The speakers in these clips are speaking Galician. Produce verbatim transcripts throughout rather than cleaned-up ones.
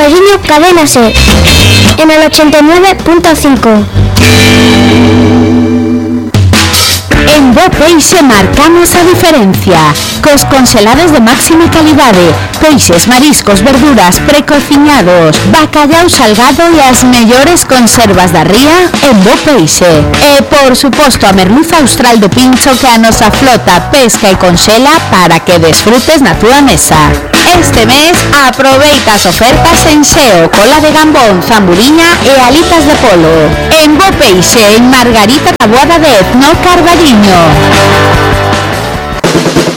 Carballiño, Cadena SER, en el ochenta y nueve punto cinco. En Bo Peixe marcamos a diferencia. Cos congelados de máxima calidade, peixes, mariscos, verduras, precociñados, bacallau salgado e as mellores conservas da ría en Bo Peixe. E, por suposto, a merluza austral de pincho que a nosa flota pesca e conxela para que desfrutes na túa mesa. Este mes aproveita as ofertas en xeo, cola de gambón, zamburiña e alitas de polo. En Bo Peixe, en Margarita Taboada de Etno, Carballiño.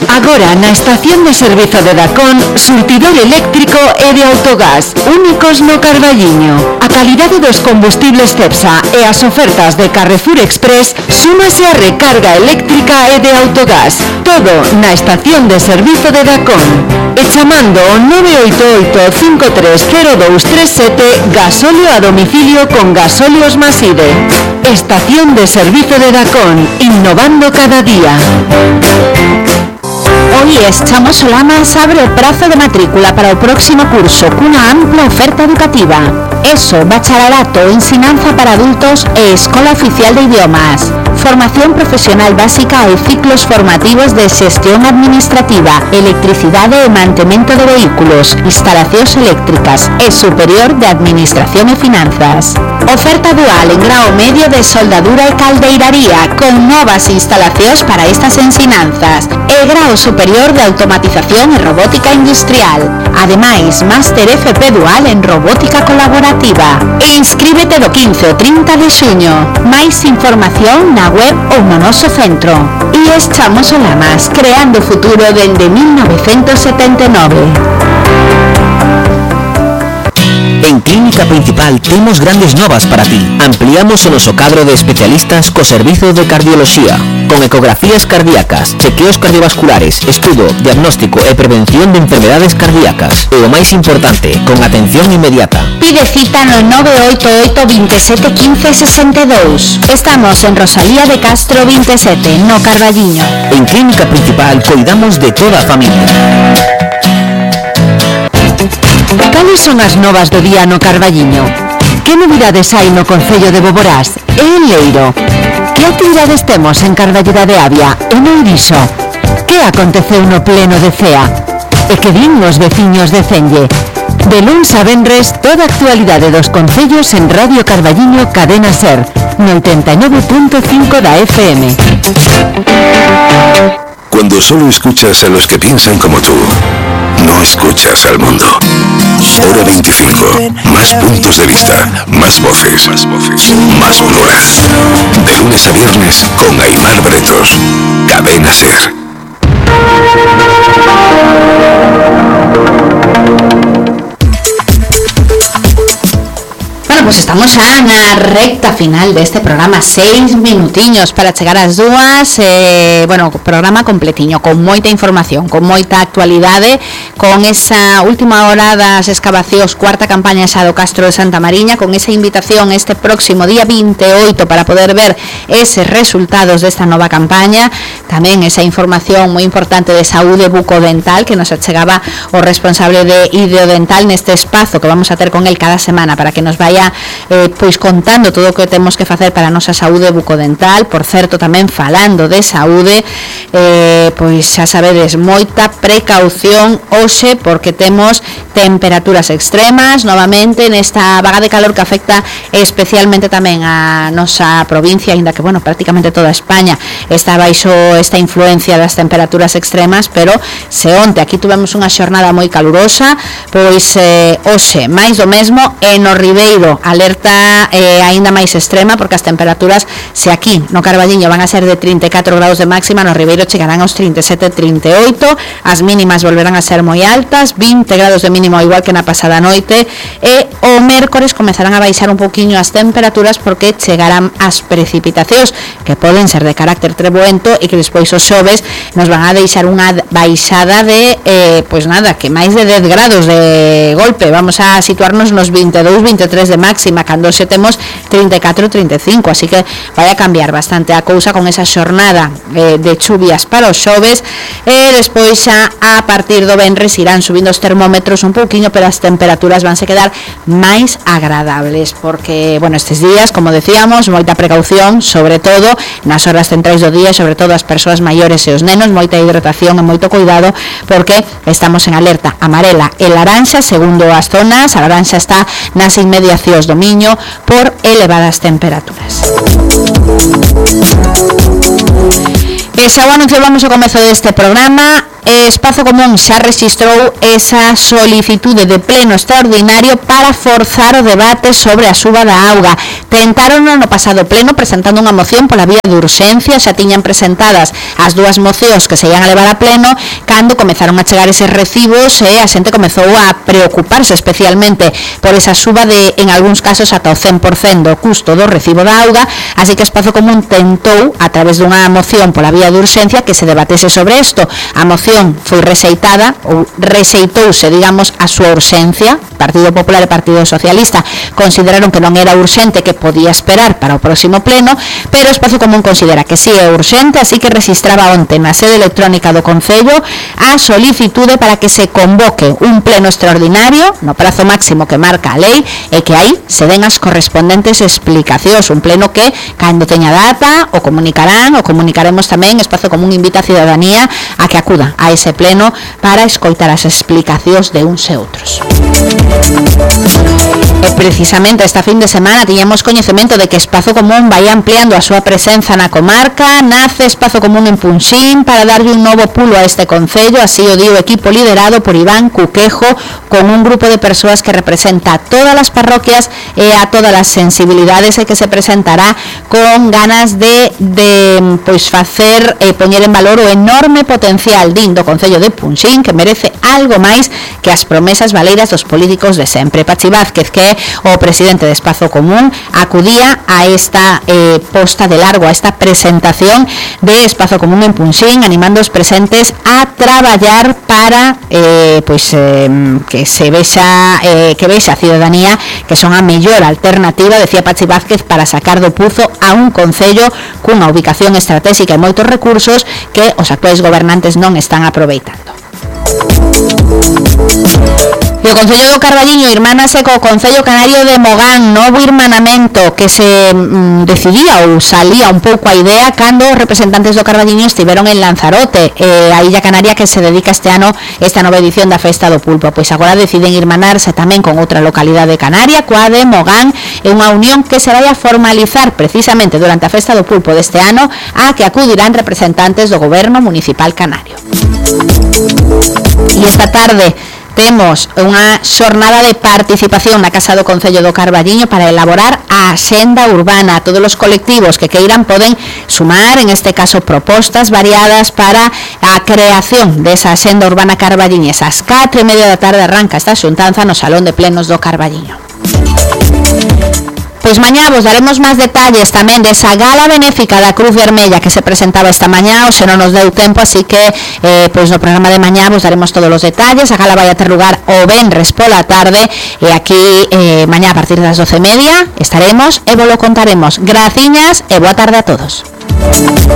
Agora na estación de servizo de Dacón, surtidor eléctrico e de autogás, únicos no Carballiño. A calidade dos combustibles Cepsa e as ofertas de Carrefour Express súmase a recarga eléctrica e de autogás. Todo na estación de servizo de Dacón. E chamando o nove oito oito, cinco tres cero dous tres sete, gasóleo a domicilio con Gasóleos Maside. Estación de servizo de Dacón, innovando cada día. Hoy Chamos Solanas abre o prazo de matrícula para o próximo curso cunha ampla oferta educativa. ESO, bacharelato, ensinanza para adultos e Escola Oficial de Idiomas. Formación profesional básica e ciclos formativos de xestión administrativa, electricidade e mantemento de vehículos, instalacións eléctricas e superior de administración e finanzas. Oferta dual en grao medio de soldadura e caldeiraría con novas instalacións para estas ensinanzas e grao superior de automatización e robótica industrial. Ademais, máster F P dual en robótica colaborativa. Inscríbete do quince ao trinta de xuño. Máis información na web ou no noso centro. E Chamos Solanas, creando futuro dende mil novecentos setenta e nove. En Clínica Principal temos grandes novas para ti. Ampliamos o noso cadro de especialistas co servizo de cardioloxía, con ecografías cardíacas, chequeos cardiovasculares, estudo, diagnóstico e prevención de enfermedades cardíacas. E o máis importante, con atención inmediata. Pide cita no nove oito oito, veintisiete, quince, sesenta e dous. Estamos en Rosalía de Castro veintisiete, no Carballiño. En Clínica Principal cuidamos de toda a familia. Cales son as novas do día no Carballiño? Que novidades hai no Concello de Boborás e en Leiro? Que actividades temos en Carballeda de Avia e no Iriso? Que aconteceu no pleno de C E A? E que din os veciños de Cenlle? De luns a venres, toda a actualidade dos concellos en Radio Carballiño Cadena SER, no ochenta y nueve punto cinco da F M. Cuando solo escuchas a los que piensan como tú, no escuchas al mundo. Hora veinticinco. Más puntos de vista, más voces, más voces, más colores. De lunes a viernes con Aimar Bretos. Cadena SER. Bueno, pues estamos xa na recta final deste programa, seis minutiños para chegar ás dúas, eh, bueno, programa completiño, con moita información, con moita actualidade, con esa última hora das excavacións, cuarta campaña xa do Castro de Santa Mariña, con esa invitación este próximo día vinte e oito para poder ver eses resultados desta nova campaña, tamén esa información moi importante de saúde bucodental que nos achegaba o responsable de Ideodental neste espazo que vamos a ter con el cada semana para que nos vaya Eh, pois contando todo o que temos que facer para a nosa saúde bucodental. Por certo, tamén falando de saúde, eh, pois xa sabedes, moita precaución hoxe porque temos temperaturas extremas novamente nesta vaga de calor que afecta especialmente tamén a nosa provincia, aínda que, bueno, prácticamente toda España está baixo esta influencia das temperaturas extremas, pero se onte aquí tuvemos unha xornada moi calurosa, pois eh, hoxe máis do mesmo, e no Ribeiro alerta eh, aínda máis extrema porque as temperaturas, se aquí no Carballiño van a ser de trinta e catro graus de máxima, no Ribeiro chegarán aos trinta e sete, trinta e oito, as mínimas volverán a ser moi altas, vinte graus de mínimo igual que na pasada noite, e o mércores comezarán a baixar un poquinho as temperaturas porque chegarán as precipitacións que poden ser de carácter treboento e que despois os xoves nos van a deixar unha baixada de, eh, pois nada, que máis de dez graus de de golpe, vamos a situarnos nos veintidós, veintitrés de máxima, cando xe temos treinta e catro, treinta e cinco, así que vai a cambiar bastante a cousa con esa xornada eh, de chuvias para os xoves, e despois xa a partir do venres irán subindo os termómetros un pouquiño, pero as temperaturas vanse quedar máis agradables, porque, bueno, estes días, como decíamos, moita precaución, sobre todo nas horas centrais do día, sobre todo as persoas maiores e os nenos, moita hidratación e moito cuidado, porque estamos en alerta amarela e laranxa, segundo as zonas. A laranxa está nas inmediacións do Miño por elevadas temperaturas. E xa o anunciábamos ao comezo deste programa, Espazo Común xa rexistrou esa solicitude de pleno extraordinario para forzar o debate sobre a suba da auga. Tentaron no pasado pleno presentando unha moción pola vía de urxencia, xa tiñan presentadas as dúas mocións que se ian a levar a pleno, cando comezaron a chegar eses recibos e a xente comezou a preocuparse especialmente por esa suba de, en algúns casos, ata o cen por cento do custo do recibo da auga, así que Espazo Común tentou, a través dunha moción pola vía de urxencia, que se debatese sobre isto. A moción foi rexeitada, ou rexeitouse, digamos, a súa urxencia. Partido Popular e Partido Socialista consideraron que non era urxente, que podía esperar para o próximo pleno, pero Espazo Común considera que sí é urxente, así que registraba onte na sede electrónica do Concello a solicitude para que se convoque un pleno extraordinario no prazo máximo que marca a lei, e que aí se den as correspondentes explicacións. Un pleno que, cando teña data, o comunicarán, o comunicaremos tamén. Espazo Común invita a ciudadanía a que acuda a ese pleno para escoitar as explicacións de uns e outros. E precisamente esta fin de semana tiñamos coñecemento de que Espazo Común vai ampliando a súa presenza na comarca. Nace Espazo Común en Punxín para darlle un novo pulo a este concello, así o di o equipo liderado por Iván Cuquejo, con un grupo de persoas que representa a todas as parroquias e a todas as sensibilidades, e que se presentará con ganas de, de pois facer e poñer en valor o enorme potencial din do Concello de Punxín, que merece algo máis que as promesas valeiras dos políticos de sempre. Pachi Vázquez, que é o presidente de Espazo Común, acudía a esta eh, posta de largo, a esta presentación de Espazo Común en Punxín, animando os presentes a traballar para eh, pois, eh, que se vexa eh, que vexa a ciudadanía que son a mellor alternativa, decía Pachi Vázquez, para sacar do puzo a un concello cunha ubicación estratégica e moitos recursos que os actuais gobernantes non están aproveitando. E o Concello do Carballiño irmánase co Concello Canario de Mogán, novo irmanamento que se mm, decidía ou salía un pouco a idea cando os representantes do Carballiño estiveron en Lanzarote, eh, a Illa Canaria que se dedica este ano esta nova edición da Festa do Pulpo. Pois agora deciden irmanarse tamén con outra localidade canaria, coa de Mogán, e unha unión que se vai a formalizar precisamente durante a Festa do Pulpo deste ano, a que acudirán representantes do Goberno Municipal Canario. E esta tarde temos unha xornada de participación na Casa do Concello do Carballiño para elaborar a axenda urbana. Todos os colectivos que queiran poden sumar, en este caso, propostas variadas para a creación desa axenda urbana carballiñesa. Ás catro e media da tarde arranca esta xuntanza no Salón de Plenos do Carballiño. Pois mañá vos daremos máis detalles tamén desa gala benéfica da Cruz Vermella que se presentaba esta mañá, hoxe non nos deu tempo, así que eh, pois no programa de mañá vos daremos todos os detalles. A gala vai a ter lugar o venres pola tarde, e aquí eh, mañá a partir das doce e media estaremos e vos lo contaremos. Graciñas e boa tarde a todos.